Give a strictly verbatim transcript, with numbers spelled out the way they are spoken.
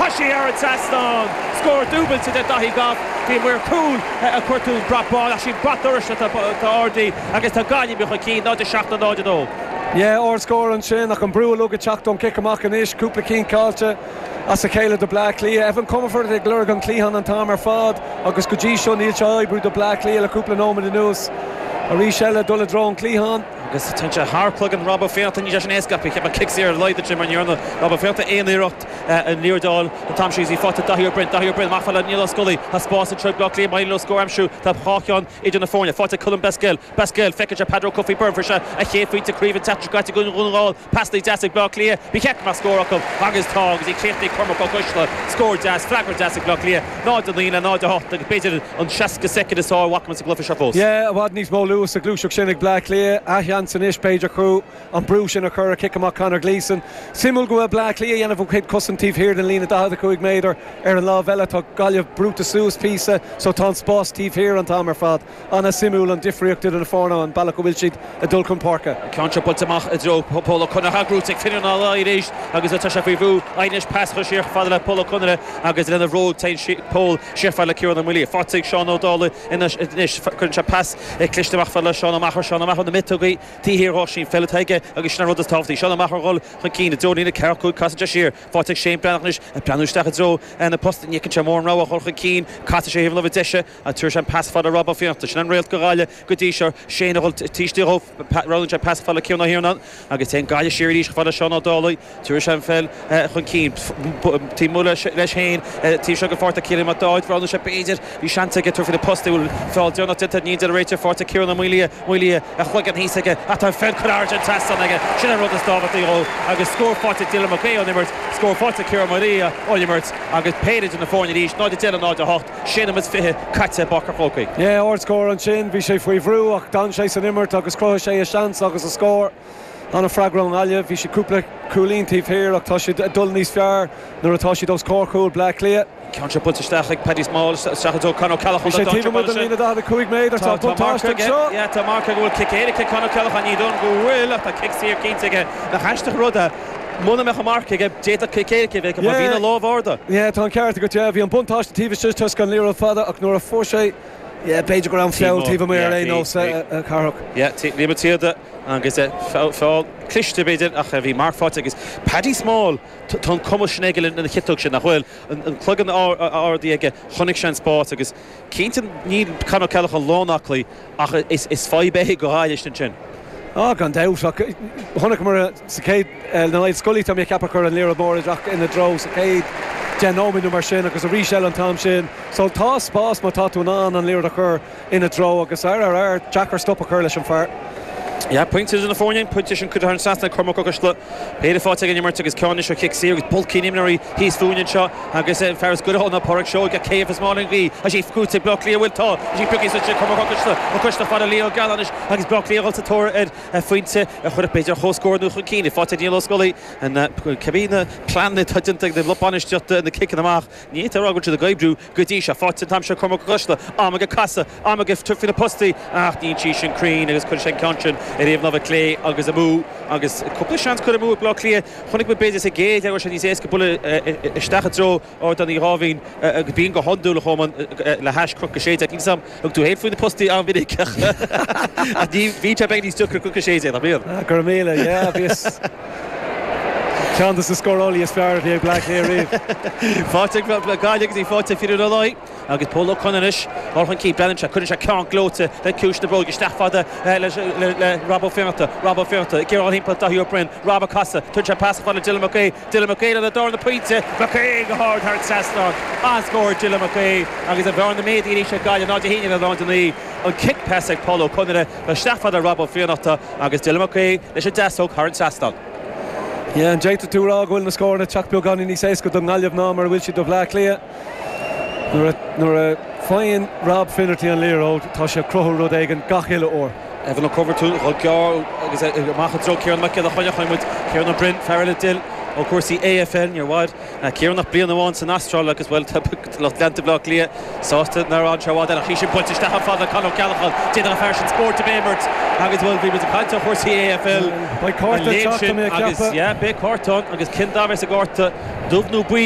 Tá sí thar an trasnán. Scór dúbailte de Daithí Goff. Bhí maor cúil ag cuartú an brat bán ach sí brat dorais atá ardaithe agus tá Gaillimh chun cinn náid a seacht a náid a dó. Yeah, ardscór ansin ach an brú ag teacht ón cic amach anois, cúpla cinn caillte as a chéile do Bleá Cliath. Evan Comerford ag lorg an cliathán an t-am ar fad agus go dtí seo níl sé ag oibriú do Bleá Cliath le cúpla nóiméad anuas. Arís eile dul i dtreo an cliathán. agus tá sé thar cloigeann Rob Ó Fiannachta ní sin éasca cheap cic saor leid sin mar ndearna Rob Ó Fiannachta aon iarracht an liathróid an t-am sin í faighte Daithí Ó Broin Daithí Ó Broin amach le Niall Ó Scolaí tá spás anseo Bleá Cliath mai le scór aimsiú tá dhá cheann idir na foirne faighte Colm Basquel Basquel feiceann sé Peadar Ó Cofaigh Byrne fuair sé a chéad phointe craoibhe teach gaite go gáil pas deas ag Bleá Cliath Bhí check mar scór acu agus tá agus í críochnaithe Cormac Ó Coisle scór deas freagra deas ag Bleá Cliath náid a naoi le náid a hocht agus b'fhéidir an seasca soicind is ár bhacman sa gcluiche seo fós. Yeah, i bhfad níos mó luas sa ghluaiseacht sin ag Bleá Cliath athsheans anois b'fhéidir chu an brú sin a chur a cic amach Conor Gleeson. Suimiúil go bhfuil Bleá Cliath dhéanamh ó chuid cosan taobh thiar den líne daichead a cúig méadar ar an lámh eile tá Gaillimh brúite suas píosa so tá an spás taobh thiar an t-am ar fad. An-suimiúil an difríocht idir na foirne an bealach go bhfuil siad ag dul chun páirce. Ceann seo buailte amach i dtreo Pól Ó Conaire grúte ag Finian arís agus tá sé faoi bhrú anois pas siar fada le Pól Ó Conaire agus lena bhróg Pól siar fada le Ciarán Ó Maolaodha. Faighte ag Seán Ó Dálaigh anois cuireann sé pas cliste amach fada le Seán Ó Meachair Seán Ó Meachair na miotógaí taobh thiar dhó sin feil aige agus sin an rud is tábhachtaí. Seán Ó Meachair dhul chun cinn i dtreo líne ceathracha cúig casann sé siar faighte ag Shane Breathnach anois ag breathnú isteach i dtreo na post ní sé mór an rogha chun cinn casann sé thaobh láimhe deise a tuair sé an pas fada Rob Ó Fiannachta sin an réalt go Gaillimh go dtí seo Shane a dhul tíiste dhó roghnaíonn sé pas fada Ciarán Ó hIarnáin agus téann Gaillimh siar arís fada Seán Ó Dálaigh tuair sé an pheil chun cinn tí mu leis féin tí seo go fáilte Cillian Mac Dáid roghnaigh sé b'fhéidir bhí seans aige tabhairt faoi na postaí bhfuil feall déanach déanta ní de réiteach faighte Ciarán Ó Maolaodha Maolaodha a chloigeann thíos aige atá fel chun an trasnán aige sin an rud is tábhachtaí dhó agus scór faighte Dylan McGay ón imirt scór faighte Ciarán Maria ón imirt agus péire de na foirne arís náid a deich náid a hocht sé nóiméad fiche caite i bPáirc an Chrócaigh. Yeah, ardscór ansin bhí sé faoi bhrú ach d'fhan sé san imirt agus chruthaigh sé a seans agus a scór. An-fhreagra ón Ghaillimh, bhí sé cúpla cúilín taobh thiar ach tá siad ag dul níos fearr nuair atá siad os comhair chúl Bleá Cliath. Ceann seo buailte isteach ag Paddy Small isteach ó Conor Ceallach Bhí sé taobh amuigh den líne daichead a cúig méadar tá buntáiste anseo. Yeah, tá marc go bhfuil cic éirice Conor Ceallach ní don go bhfuil ach tá cic saor cinnte aige nach aisteach rud é Muna mbeadh an marc aige d'fhéadfadh cic éirice bheith mar bhí na lámh arda. Yeah, tá an ceart agat yeah, bhí an buntáiste taobh istigh toisc an liathróid fada ach nuair a fuair sé Yeah, b'fhéidir go raibh an feall taobh amuigh ar aon nós Carthach. Yeah, Liam Tíada agus feall cliste b'fhéidir ach bhí marc faighte agus Paddy Small tá an cumas sin aige lena chiotóg sin nach bhfuil an cloigeann ardaithe aige chonaic sé an spás agus cinnte níl Conor Ceallach an lánaclaí ach is is fadhb é go Gaillimh sin. Á gan dabht ach chonaic mar sa chéad na Niall Scully tá mé ag ceapadh chur an liathróid mór isteach ina dtreo sa chéad deich nóiméad nó mar sin agus arís eile an t-am sin. So tá spás má tá tú in ann an liathróid a chur ina dtreo agus ar ar ar deacair stop a chur leis an fear. Ja, pointe na foirne, pointe sin chuid an sasna Cormac Ó Coisle. Péire faighte ag an imirt agus ceann seo cic saor agus bulcín imreoirí thíos fúinn anseo agus an fear is goire ná Pádraig Seoige céh is máin bhí a sí cúte Bleá Cliath bhfuil tá sí pioctha suas Cormac Ó Coisle Ó Coisle fada Leo Galanish agus Bleá Cliath sa tóir ar phointe a chuir b'fhéidir comhscór nó chun cinn faighte Niall Ó Scolaí an cibé na pleananna atá déanta ag na lucht bainistíochta na ciceanna amach ní tá rá siad ag oibriú go dtí seo faighte an t-am seo Cormac Ó Coisle am ag casadh am ag tabhairt faoi na postaí ach níl sí sin cruinn agus chuir sé an ceann sin ar thaobh láimhe clé agus amú agus cúpla seans curtha amú ag Bleá Cliath chonaic mé b'fhéidir sa gcéad leath sé níos éasca bualadh isteach i dtreo Ardán Uí Dháimhín agus bíonn go hiondúil chomh le hais Cnoc a sé déag. Níl a fhios agam thug tú féin faoi na postaí an-mhinic ach ní bhíonn sé beag níos deacra Cnoc a sé déag nach mbíonn? Go raibh míle, yeah, bhíos ceann de na scórálaí is fearr a bhí ag Bleá Cliath riamh. Faighte ag Gaillimh agus í faighte Finian Ó Laoi agus Pól Ó Conaire anois ar chun cinn breathnaíonn sé cuireann sé ceann gleoite le ciumhais na bróige isteach fada le le Rob Ó Fiannachta Rob Ó Fiannachta ag iarraidh thimpeall Daithí Ó Broin Rob ag casadh tugann sé pas fada Dylan McGee Dylan McGee lena darna pointe McGee go hard thar an trasnán an-scór Dylan McGee agus a bhearna méadaithe arís ag Gaillimh náid a haon le náid a naoi an cic pas ag Pól Ó Conaire isteach fada Rob Ó Fiannachta agus Dylan McGee leis an deasóg thar an trasnán. Yeah, an d'fhéadfadh tú rá go bhfuil na scóranna ag teacht beagáinín níos éasca don nGaillimh ná mar a bhfuil siad do Bhleá Cliath. Nuair a nuair a faigheann Rob Finnerty an liathróid tá sé ag cruthú rud éigin gach uile uair. Evan Ó Coibheartúin chomh gearr agus amach i dtreo Ciarán Mac Giolla Chainnigh chonaic muid Ciarán Ó Broin fear eile d'fhill ó chúrsaí AFL níor mhair Ciarán ach bliain amháin san Astráil agus bhuel tá lucht leanta Bhaile Átha Cliath sásta nár fhan sé i bhfad ach í sin buailte isteach an fada Conor Ceallachán déanann an fear sin spórt a bhéimirt agus bhuel bhí muid ag caint ar chúrsaí AFL Beidh cárta an léim teacht sin mé agus ceapadh. yeah, beidh cárta ann agus cén dath a bheas sa gcárta dubh nó buí